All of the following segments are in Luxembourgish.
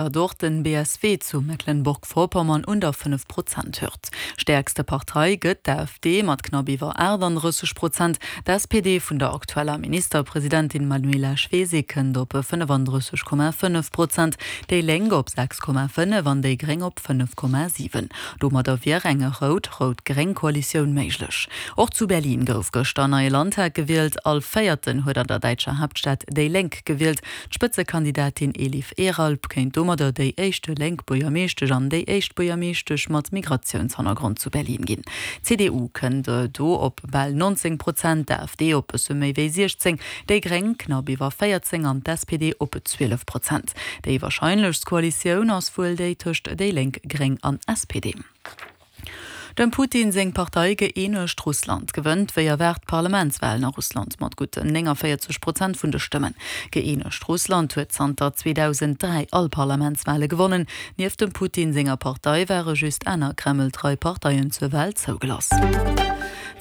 Datt och den BSW zu Mecklenburg-Vorpommern un der 5 Prozent Hürd. Stäerkste Partei gëtt d'AfD mat knapp iwwer 38 Prozent. D'SPD vun der aktueller Ministerpresidentin Manuela Schwesig kënnt op 35,5 Prozent, déi Lénk op 6,5 an déi Gréng op 5,7. Domadder wier eng rout-rout-gréng Koalitioun méiglech. Och zu Berlin gouf gëschter en neie Landtag gewielt. All Véierten huet an der däitscher Haaptstad déi Lénk gewielt. D'Spëtzekandidatin Elif Eralp kéint domadder déi éischte lénk Buergermeeschtesch an déi éischt Buergermeeschtesch mat Migratiounshannergrond zu Berlin ginn. D'CDU kënnt do op bal 19 Prozent, d'AfD op bësse méi wéi 16, déi Gréng knapp iwwer 14 an d'SPD op 12 Prozent. Déi warscheinlechst Koalitioun ass wuel déi tëscht déi Lénk, Gréng an SPD. Dem Putin seng Partei Gëeenegt Russland gewënnt wéi erwaart d'Parlamentswalen a Russland mat gutt 49 Prozent vun de Stëmmen. Gëeenegt Russland huet zanter 2003 all Parlamentswale gewonnen. Nieft dem Putin senger Partei ware just aner Kreml-trei Parteien zur Wal zougelass.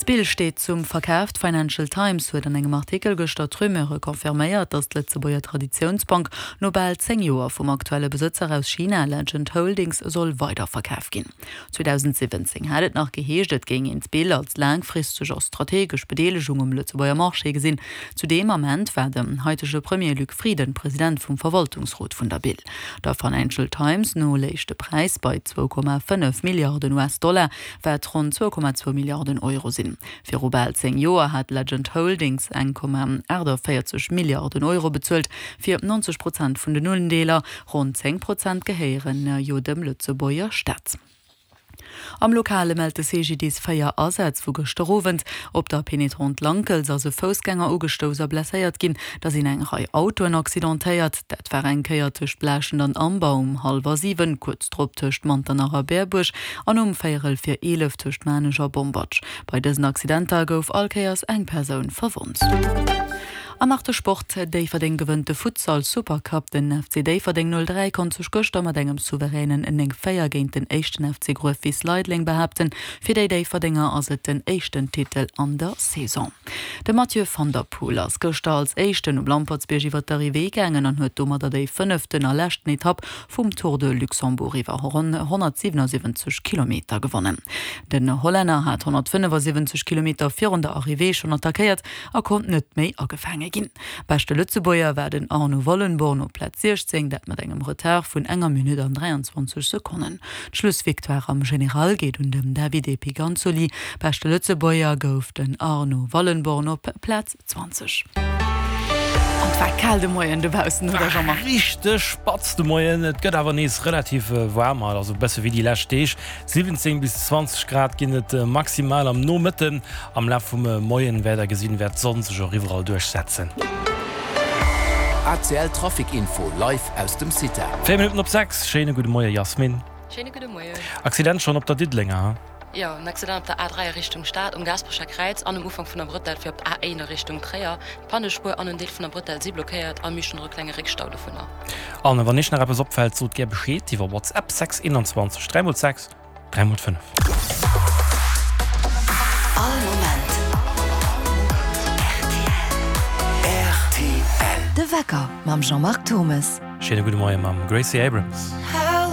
D'Bill steet zum Verkaf. D'Financial Times huet an engem Artikel gëschter d'Rumeure confirméiert, datt d'Lëtzebuerger Traditiounsbank no bal 10 Joer vum aktuelle Besëtzer aus China, Legend Holdings, soll weiderverkaf ginn. 2017 hat et nach geheescht, et géing een d'Bill als laangfristeg a strategesch Bedeelegung um Lëtzebuerger Marché gesinn. Zu deem Ament war den haitege Premier Luc Frieden President vum Verwaltungsrot vun der Bill. Der Financial Times no léich de Präis bei 2,5 Milliarden US-Dollar, wat ronn 2,2 Milliarden Euro sinn. Viru bal 10 Joer hat Legend Holdings 1,48 Milliarden Euro bezuelt fir 90 Prozent vun den Undeeler. Ronn 10 Prozent gehéieren jo dem Lëtzebuerger Staat. Am Lokale mellt de CGDIS 4 Asätz vu gëschter Owend. Op der Pénétrante Lankels ass e Foussgänger ugestouss a blesséiert ginn. Da sinn eng Rei Autoen accidentéiert. Dat war eng Kéier tëscht Blaaschent an Amber um hallwer 7, kuerz drop tëscht Manternach a Berbuerg an um véierel vir 11 tëscht Maarnech a Bomberg. Bei dësen Accidenter gouf all Kéiers eng Persoun verwonnt. An nach de Sport, Déifferdeng gewënnt de Futsal Supercup. Den FC Déifferdeng 03 konnt sech gëschter mat engem souveränen 9, 4 géint den éischten FC Gruefwiss Leideleng behaapten. Fir déi Déifferdenger ass et den éischten Titel an der Saison. De Mathieu van der Poel ass gëschter als éischten um Lampertsbierg iwwer d'Arrivée gaangen an huet domadder déi fënneften a leschten Etapp vum Tour de Luxembourg iwwer ronn 177 Kilometer gewonnen. Den Hollänner hat 175 Kilometer virun der Arrivée schonn attackéiert a konnt net méi agefaange ginn. Beschte Lëtzebuerger war den Arno Wallenborn op Plaz 16, dat mat engem Retard vun enger Minutt an 23 Sekonnen. D'Schlussvictoire am General geet un den Davide Piganzoli. Beschte Lëtzebuerger gouf den Arno Wallenborn op Plaz 20. An et war kal de Moien dobaussen, oder Jean-Marc? War richteg spatz de Moien. Et gëtt awer nees relativ waarm haut, also e bësse wéi déi lescht Deeg. 17 bis 20 Grad ginn et maximal am Nomëtten. Am Laf vum Moien wäert der gesinn, wäert d'Sonn sech och iwwerall duerchsetzen. ACL Trafic Info live aus dem CITA. 4 Minutten op 6, schéine gudde Moie Jasmin. Schéine gudde Moien. Accident schonn op der Diddelenger, ha? Jo, en Accident op der A3 a Richtung Stad, um Gaasperecher Kräiz an um Ufank vun der Brëtell fir op d'A1 a Richtung Tréier. D'Pannespuer an en Deel vun der Brëtell si blockéiert a mir hunn och e klenge Réckstau dovunner. An wann iech nach eppes opfält, sot gär Bescheed iwwer WhatsApp 6 21 3 mol 6 3 mol 5. All Moment rtl. De Wecker mam Jean-Marc Thommes. Schéine gudde Moie mam Gracie Abrams.